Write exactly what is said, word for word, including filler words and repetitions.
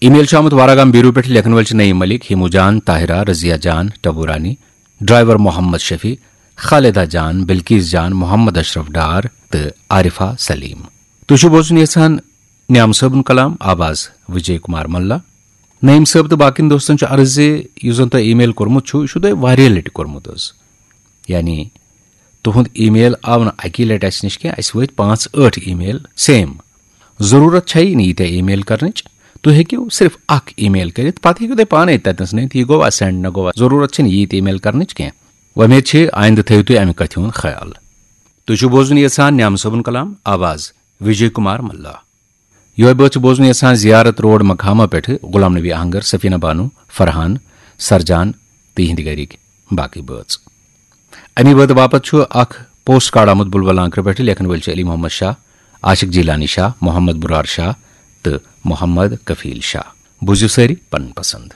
ای میل چھُ آمُت واراگام بیرو پٮ۪ٹھ، لیکھن وٲلۍ چھِ نعیم ملک، ہیمو جان، طاہرہ، رضیہ جان، ٹبورانی، ڈرائیور محمد شفیع، خالدہ جان، بلقیس جان، محمد اشرف ڈار تہٕ عارفہ سلیم۔ تُہۍ چھِو بوزُن یژھان نعیم صٲبُن کلام، آواز وجے کمار ملا۔ نعیم صٲب تہٕ باقین دوستن چھُ عرض زِ یُس زن تۄہہِ ای میل کوٚرمُت چھُ، یہِ چھُ تۄہہِ واریاہ لٹہِ کوٚرمُت حظ۔ یعنی تُہُنٛد ای میل آو نہٕ اکی لٹہِ اسہِ نِش کینٛہہ، اسہِ وٲتۍ پانٛژھ ٲٹھ ای میل سیم۔ ضروٗرت چھیی نہٕ ییٖتیٛاہ ای میل کرنٕچ، تُہۍ ہیٚکِو صرف اکھ ای میل کٔرِتھ، پتہٕ ہیٚکِو تُہۍ پانے تتنس نٔنِتھ یہِ گوٚوا سینڈ نہ گوٚوا، ضروٗرت چھنہٕ ییٖتۍ ای میل کرنٕچ کینٛہہ۔ وۄمید چھِ آیندٕ تھٲیِو تُہۍ امہِ کتھِ ہُنٛد خیال۔ تُہۍ چھِو بوزُن یژھان نعیم صٲبُن کلام، آواز وجے کمار ملا۔ یۄہے بٲتھ چھِ بوزُن یژھان زیارت روڈ مقامہ پٮ۪ٹھٕ غلام نبی آہنگر، سفینہ بانو، فرحان، سرجان تہٕ یِہنٛدِ گرِکۍ باقٕے بٲژ۔ امی بٲتھ باپتھ چھُ اکھ پوسٹ کارڈ آمُت بلبل لانکرٕ پٮ۪ٹھٕ، لیکھن وٲلۍ چھِ علی محمد شاہ، عاشق جیلانی شاہ، محمد برار شاہ تہٕ محمد کفیل شاہ۔ بوٗزِو سٲری پنٕنۍ پسند۔